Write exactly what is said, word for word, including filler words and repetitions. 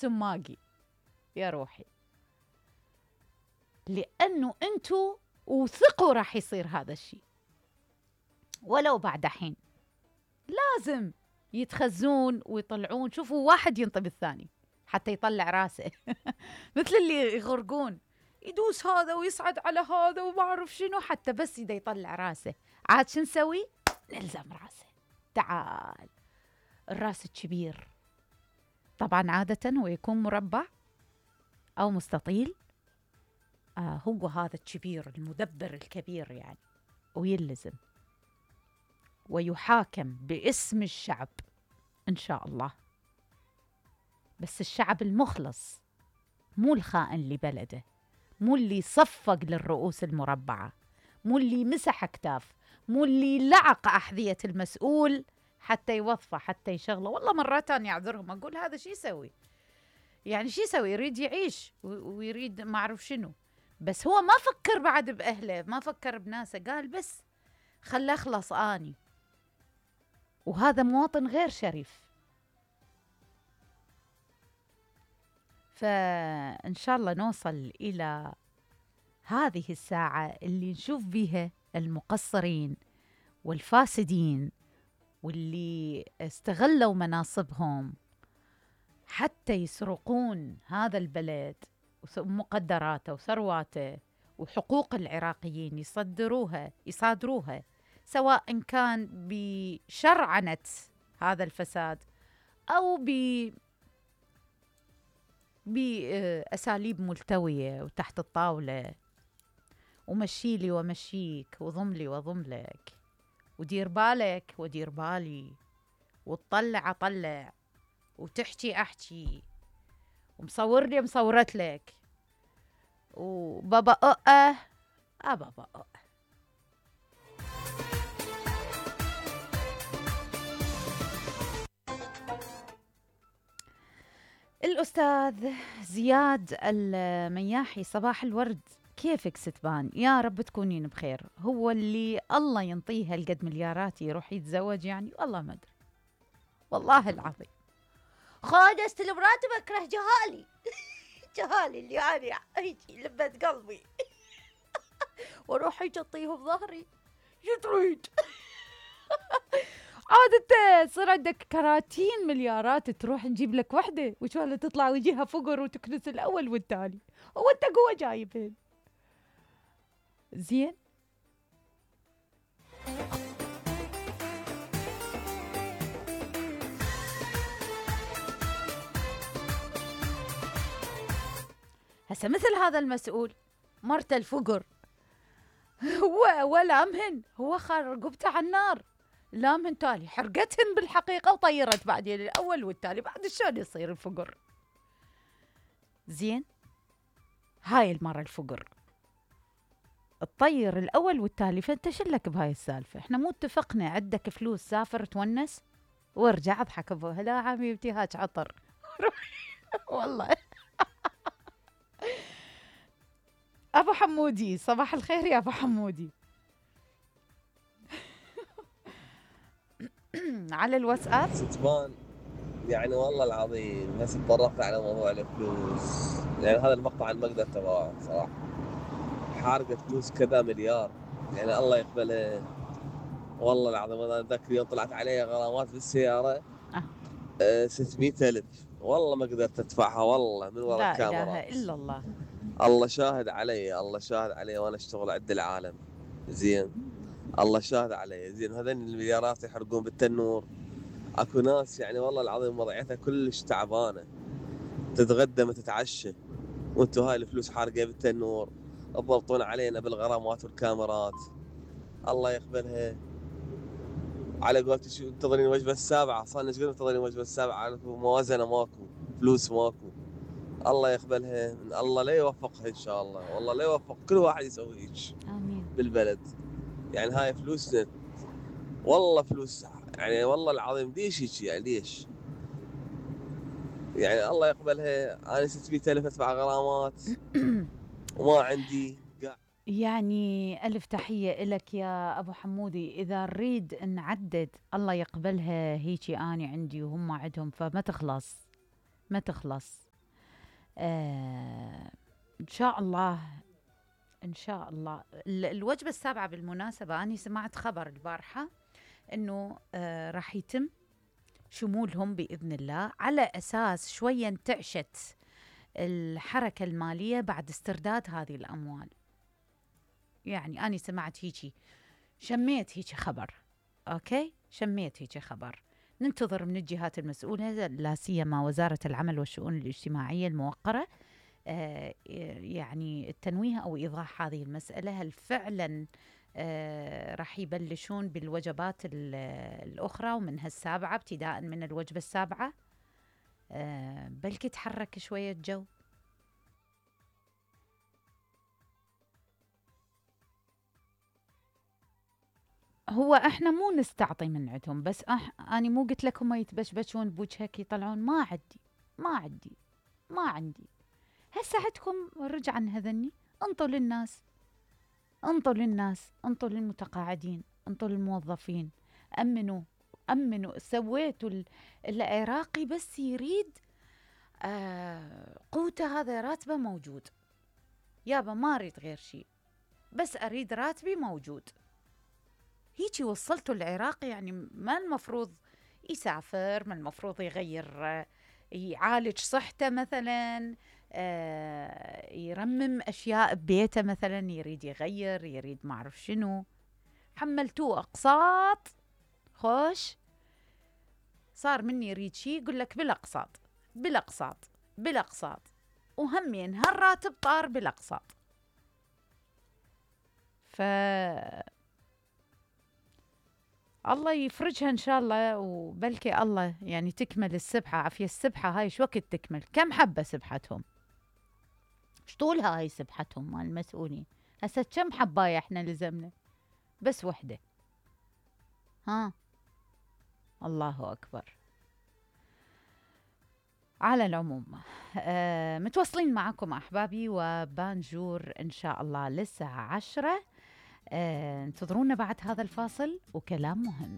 السماقي يا روحي، لأنه أنتوا وثقوا راح يصير هذا الشيء ولو بعد حين. لازم يتخزون ويطلعون. شوفوا واحد ينطب الثاني حتى يطلع راسه مثل اللي يغرقون، يدوس هذا ويصعد على هذا وما أعرف شنو حتى بس يدا يطلع راسه. عاد شو نسوي؟ نلزم راسه. تعال الراس الكبير طبعا عادة هو يكون مربع أو مستطيل. آه هو هذا الكبير المدبر الكبير يعني، ويلزم ويحاكم باسم الشعب إن شاء الله، بس الشعب المخلص، مو الخائن لبلده، مو اللي صفق للرؤوس المربعة، مو اللي مسح كتاف، مو اللي لعق أحذية المسؤول حتى يوظفه حتى يشغله. والله مرات أنا أعذرهم أقول هذا شي يسوي، يعني شي يسوي؟ يريد يعيش ويريد ما أعرف شنو، بس هو ما فكر بعد بأهله، ما فكر بناسه، قال بس خل أخلص آني. وهذا مواطن غير شريف. فإن شاء الله نوصل إلى هذه الساعة اللي نشوف بيها المقصرين والفاسدين واللي استغلوا مناصبهم حتى يسرقون هذا البلد ومقدراته وثرواته وحقوق العراقيين، يصدروها يصادروها، سواء كان بشرعنة هذا الفساد أو ب بأساليب ملتوية وتحت الطاولة، ومشيلي ومشيك وضملي وضملك ودير بالك ودير بالي وتطلع أطلع وتحكي أحكي ومصور لي مصورت لك وبابا أه أه بابا أه. الأستاذ زياد المياحي، صباح الورد، كيفك ستبان؟ يا رب تكونين بخير. هو اللي الله ينطيه هالقد مليارات يروح يتزوج يعني؟ والله ما أدري، والله العظيم. خاد استلم راتب أكره جهالي جهالي اللي أنا هيجي لبت قلبي واروح هيك اطيه بظهري. شو تريد؟ عاد انت صار عندك كراتين مليارات تروح نجيب لك وحده وشو تطلع ويجيها فقر وتكنس الاول والتالي. هو انت قوه جايبين زين. هسه مثل هذا المسؤول مرته الفقر هو ولا مهن، هو خار رقبته على النار، لا من تالي حرقتهن بالحقيقة وطيرت بعدين الأول والتالي. بعد شلون يصير الفقر؟ زين هاي المرة الفقر الطير الأول والتالي. فانت شلك بهاي السالفة؟ احنا مو اتفقنا عندك فلوس سافر تونس وارجع اضحك ابوها؟ لا حبيبتي هاج عطر والله. أبو حمودي صباح الخير يا أبو حمودي. على الواتساب ستبان يعني والله العظيم هسه تطرقت على موضوع الفلوس، يعني هذا المقطع المقدر تبعه صراحة حارقة فلوس كذا مليار، يعني الله يقبله. والله العظيم انا ذاك اليوم طلعت علي غرامات بالسيارة أه ستمئة ألف، والله ما قدرت ادفعها والله من وراء الكاميرا. لا إله إلا الله. الله شاهد علي، الله شاهد علي وانا اشتغل عند العالم زين، الله شاهد علي زين. هذين المليارات يحرقون بالتنور. اكو ناس يعني والله العظيم وضعيتها كلش تعبانه، تتغدى ما تتعشى، وانتو هاي الفلوس حارقه بالتنور تضبطون علينا بالغرامات والكاميرات. الله يقبلها. على قولتي شو انتظرين الوجبه السابعه؟ صار ايش قد منتظرين الوجبه السابعه؟ موازنه ماكو، فلوس ماكو. الله يقبلها، الله لا يوفقها ان شاء الله، والله لا يوفق كل واحد يسوي هيك امين بالبلد. يعني هاي فلوسنا والله فلوس، يعني والله العظيم ليش هيك؟ يعني ليش؟ يعني الله يقبلها. انا ستمئة ألف ادفع غرامات وما عندي. يعني ألف تحية إلك يا أبو حمودي. إذا نريد نعدد الله يقبلها هيجي أنا عندي وهم عندهم، فما تخلص ما تخلص. آه إن شاء الله إن شاء الله. الوجبة السابعة بالمناسبة أنا سمعت خبر البارحة إنه آه راح يتم شمولهم بإذن الله، على أساس شوية انتعشت الحركة المالية بعد استرداد هذه الأموال. يعني أنا سمعت هيجي، شميت هيجي خبر، أوكي، شميت هيجي خبر. ننتظر من الجهات المسؤولة، لا سيما وزارة العمل والشؤون الاجتماعية الموقرة، آه يعني التنويه أو إيضاح هذه المسألة. هل فعلا آه راح يبلشون بالوجبات الأخرى ومنها السابعة، ابتداء من الوجبة السابعة؟ آه بلكي تحرك شوية جو. هو احنا مو نستعطي من عندهم، بس أح أنا مو قلت لكم ما يتبشبشون بوجهك يطلعون؟ ما عندي ما عندي ما عندي هسه عندكم رجعا هذني. انطوا للناس، انطوا للناس، انطوا للمتقاعدين، انطوا للموظفين، أمنوا أمنوا. سويتوا العراقي بس يريد آه قوته، هذا راتبه موجود يابا، ما أريد غير شيء، بس أريد راتبي موجود. هيجي وصلتوا العراقي، يعني ما المفروض يسافر، ما المفروض يغير، يعالج صحته مثلا، آه يرمم أشياء ببيته مثلا، يريد يغير، يريد ما أعرف شنو. حملتوه أقساط، خوش صار مني يريد شيء يقول لك بالأقساط بالأقساط بالأقساط، وهمين هالراتب طار بالأقساط. ف الله يفرجها إن شاء الله، وبلكي الله يعني تكمل السبحة. عافية السبحة هاي شو وقت تكمل؟ كم حبة سبحتهم؟ ايش طولها هاي سبحتهم مال المسؤولين؟ هسه كم حباية احنا لزمنا؟ بس وحدة. ها الله أكبر. على العموم آه متواصلين معكم أحبابي وبانجور إن شاء الله للساعة عشرة. آه انتظرونا بعد هذا الفاصل وكلام مهم.